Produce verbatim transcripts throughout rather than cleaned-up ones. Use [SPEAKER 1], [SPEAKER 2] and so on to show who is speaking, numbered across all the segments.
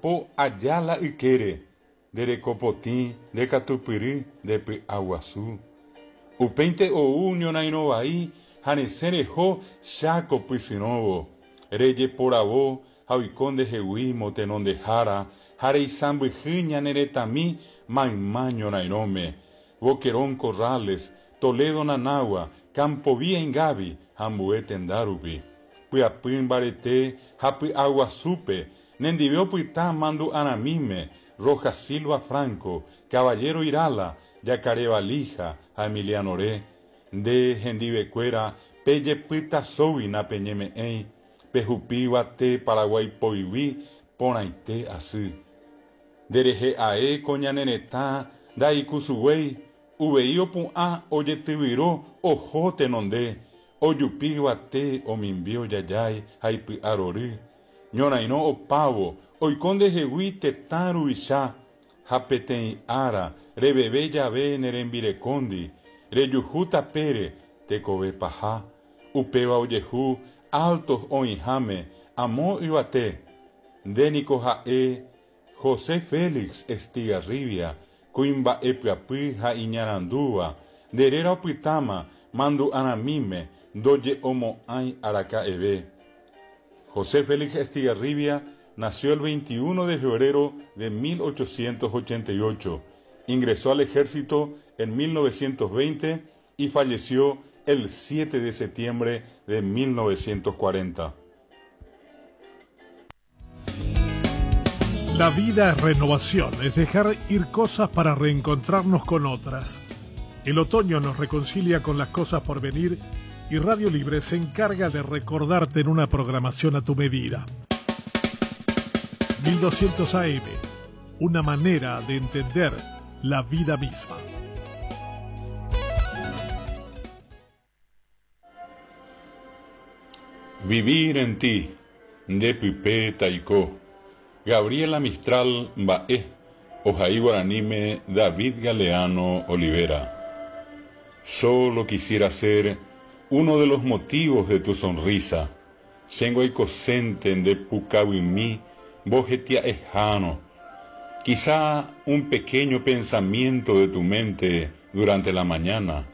[SPEAKER 1] Jacopo Ayala ykére, nde rekopotĩ, nde katupyry, nde py'aguasu. Upéinte ou ñorairõ vai ha resẽ reho Cháko pysyrõvo, rejeporavo ha oiko ndehegui motenondehára ha reisãmbyhy ñane retãmi mayma ñorairõme, Boquerón Corrales, Toledo Nanawa, Campo Vía Ingavi ha ambue tenda rupi. Pyapy mbarete ha py'aguasúpe, nendive opyta mandu'arãmíme, Rojas Silva Franco, Caballero Irala, Jacaré Valija ha Emiliano Re, nde hendivekuéra pejepytasógui napeñeme'ẽi, pehupi yvate Paraguái poyvi porãite asy. Nderehe ae ko ñane retã ndaikusuguéi, uvei opu'ã ojetyvyro oho tenonde, ojupi yvate omimbi ojajái ha ipy'arory. Ñorairõ opávo oiko ndehegui tetã ruvicha ha peteĩ ára reveve jave ne rembirekóndi, rejuhu tapére tekove paha, upéva ojehu Altos oĩháme amo yvate. Ndéniko ha'e José Félix Estigarribia, kuimba'e pyapy ha iñarandúva, nde réra opytáma mandu'arãmíme ndoje'omo'ãi araka'eve. José Félix Estigarribia nació el veintiuno de febrero de mil ochocientos ochenta y ocho. Ingresó al ejército en mil novecientos veinte y falleció el siete de septiembre de mil novecientos cuarenta.
[SPEAKER 2] La vida es renovación, es dejar ir cosas para reencontrarnos con otras. El otoño nos reconcilia con las cosas por venir y Radio Libre se encarga de recordarte en una programación a tu medida. mil doscientos A M, una manera de entender la vida misma.
[SPEAKER 1] Vivir en ti, de Pipe Taiko. Gabriela Mistral Mba'e, Ojai Guaranime David Galeano Olivera. Solo quisiera ser uno de los motivos de tu sonrisa. Chengo aikosente nde pukavimi mbohetia ejano. Quizá un pequeño pensamiento de tu mente durante la mañana.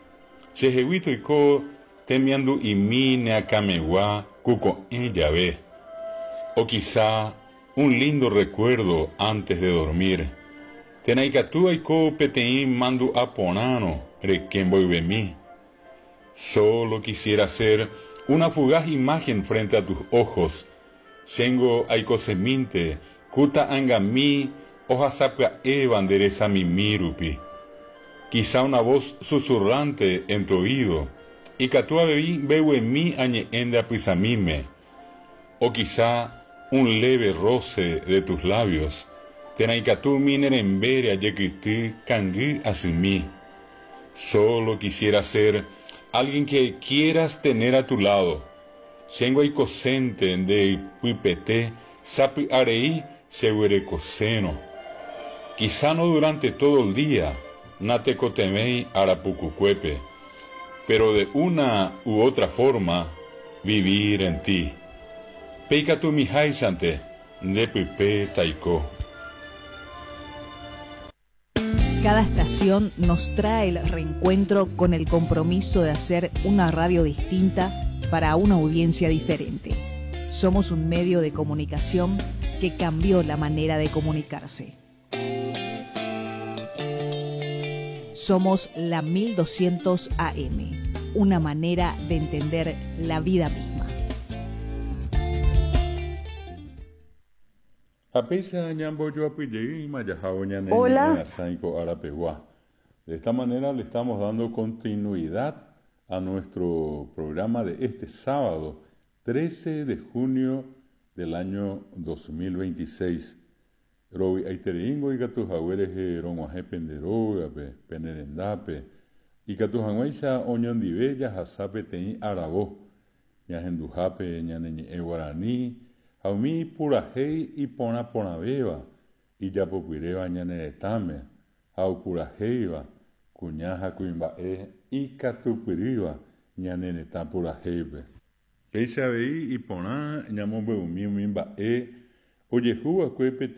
[SPEAKER 1] Cheheguito iko temiandu imi neakamegua kuko'ẽ jave. O quizá un lindo recuerdo antes de dormir. Tenaikatu aiko peteĩ mandu aporãrõ reke mboyvemi. Solo quisiera ser una fugaz imagen frente a tus ojos. Chengo aikosemínte kuta angami ohasapya'éva nde resamimi rupi. Quizá una voz susurrante en tu oído. Ikatu avei mbeguemi añe'ẽ nde apysamíme. O quizá un leve roce de tus labios. Térã ikatu umi ne rembére ajekyty kangy asymi. Solo quisiera ser alguien que quieras tener a tu lado. Chengo aikosente nde pypete sapy'arei cheguerekosérõ. Quizá no durante todo el día, natekotevẽi arapukukuépe, pero de una u otra forma, vivir en ti. Peikatu miháichante nde pype taiko.
[SPEAKER 3] Cada estación nos trae el reencuentro con el compromiso de hacer una radio distinta para una audiencia diferente. Somos un medio de comunicación que cambió la manera de comunicarse. Somos la mil doscientos A M, una manera de entender la vida misma.
[SPEAKER 4] Hola.
[SPEAKER 1] De esta manera le estamos dando continuidad a nuestro programa de este sábado, trece de junio del año dos mil veintiséis. Robi aiteringo ikatu haguerehe rog̃uahẽ penderógape, penerendápe, ikatu hag̃uáicha oñondive jahasa peteĩ aravo, ñahenduhápe ñane ñe'ẽ guarani, ha umi purahéi iporãporãvéva, ijapopyréva ñane retãme, ha opurahéiva, kuña ha kuimba'e ikatupyrýva ñane retã purahéipe. Péicha avei iporã ñamombe'umi umi mba'e ojehuva'ekue peteĩ